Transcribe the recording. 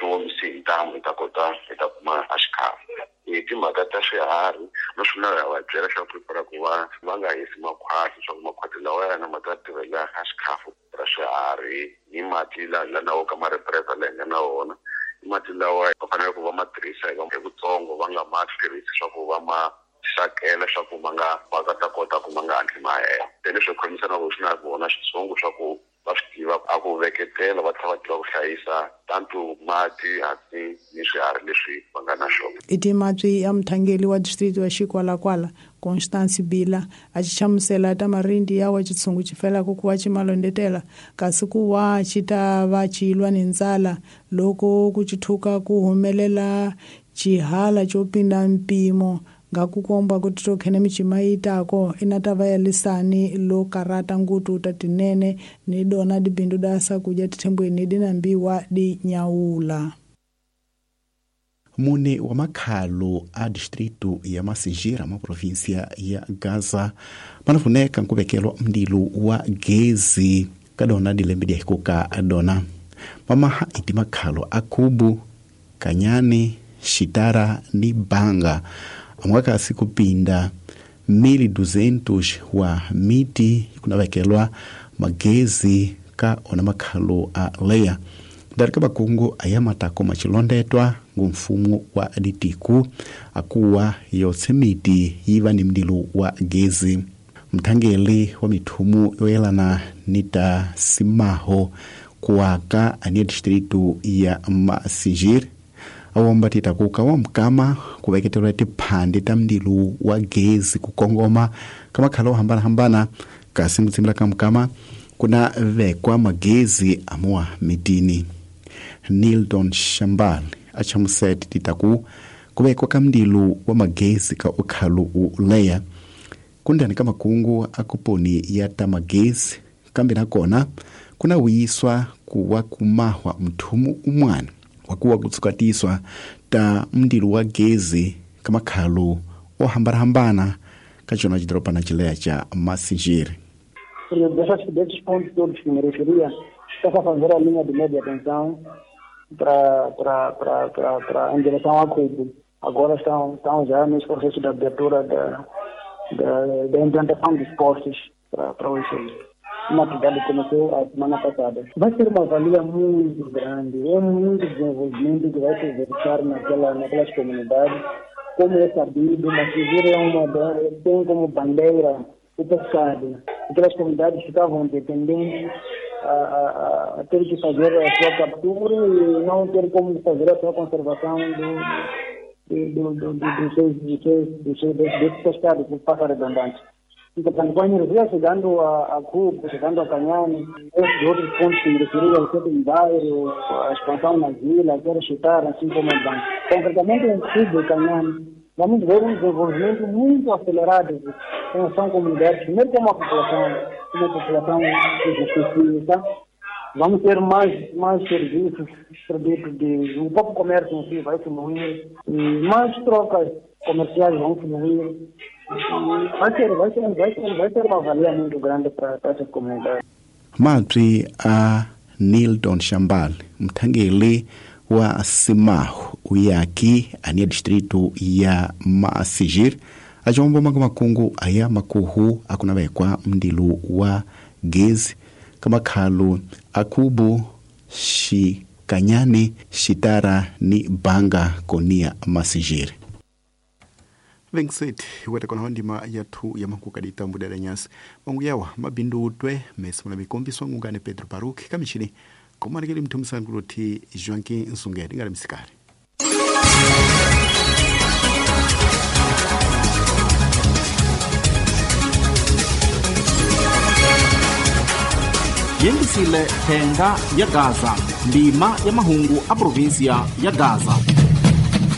swi omisi hi ntamu hi ta kota hi ta kuma a xikhafu. Hi timhaka ta swiharhi naswona ha va byela swa ku ku va va nga hisi makhwati swa ku makhwati lawa yana ma ta tirhela a xikhafu ra swiharhi ni mati la la na wo ka ma-represa la hi nga na wona i mati lawa va fanele ku va ma tirhisa hi vutsongo va nga ma tirhisi swa ku va ma xakela swa ku ma nga va ta kota ku ma nga hatli ma hela. Se leswi khomisanaka swi na vona xitshungu swa ku va swi tiva a ku veketela va tlhela va tiva ku hlayisa tantu mati hatsi ni swiharhi leswi va nga na swona. I timabyi ya muthangeli wa distrito wa Xikwalakwala Constance Bila a xi hlamusela ta marindi ya wa xitshungu xi felaka ku va xi malondetela kasi ku wa xi ta va xi lwa ni ndzala loko ku xithuka ku humelela xihala xo pinda mpimo nga ku komba ku titokhene michima yi tako ina ta va ya lisani lo karata ngutu ta tinene ni dona dibindu da sakudya tithembweni dinambiwa di nyaula. Mune wa makhalo a distrito ya Massingir ma província ya Gaza manafuneka nkuvekelwa mndilu wa gezi kadona dilembe dia hikuka dona mamaha iti makhalo a Kubu, Kanyane, Xitara ni Banga amwakasi kupinda 1200 wa miti kunavekelwa magezi ka ona makhalo a leya dari ka bakungu aya matako machilondetwa ngumfumo wa ditiku akuwa yotse miti yiva ni mdilu wa gezi. Mthangeli wa mithumu yoyelana ni ta simaho kuwaka ania distrito ya Massingir awomba titakuka wa mkama kuveketelwa tiphandi ta mdilu wa gezi kukongoma ka makhalo hambana-hambana kasi mutsimila ka mkama kuna vekwa magezi amuwa mitini. Nildon Shambal achamuseti titaku kuvekwa ka mdilu wa magezi ka ukhalu uleya kundani ka makungu akuponi ya ta magezi kambe nakona kuna wuyiswa kuwa kumahwa mthumu umwana wakuwa kutsukatiswa ta mdilu wa gezi ka makhalo o hambana-hambana ka xona xidorobana xileya xa Massingir. Desses pontos todos que me referia, está a fazer a linha de média tensão para em direção a Cubo. Agora estão já nesse processo de abertura da implantação dos postes para o ICI. Uma atividade que começou a semana passada. Vai ser uma valia muito grande, é muito desenvolvimento que vai se verificar naquelas comunidades. Como é sabido, Massingir tem como bandeira o pescado. Aquelas comunidades ficavam dependentes a ter que fazer a sua captura e não ter como fazer a sua conservação desse pescado, que passa redundante. Então, com a energia chegando a Cubo, chegando a Canhane, esses outros pontos que me referi, ao centro de bairro, a expansão na vila, quero chutar, assim como o banco. Concretamente, em Cubo e Canhane, vamos ver um desenvolvimento muito acelerado. São comunidades, primeiro como a população, uma população que justifica. Vamos ter mais serviços, produtos de... O próprio comércio em si vai fluir, e mais trocas comerciais vão fluir. Vai ter uma valia muito grande para essas comunidades. Mabyi a Nildon Shambal, mthangeli wa Simaho uyaki ania distrito ya Massingir achombo maka makungu aya makuhu akunavekwa mdilu wa gezi kamakhalo akubu Xikanyane, Xitara ni Banga konia Massingir. Venkseti weta kona ndima yathu ya makuka ditambu dada nyasi mangu yawa mabindu utwe mesi muna mikombiswa ngungane Pedro Baruch kamichini komanekeli mthumisani kuloti Joaquim Nsungedi ngale msikari. Yengisile thenga ya Gaza, ndima ya mahungu a província ya Gaza.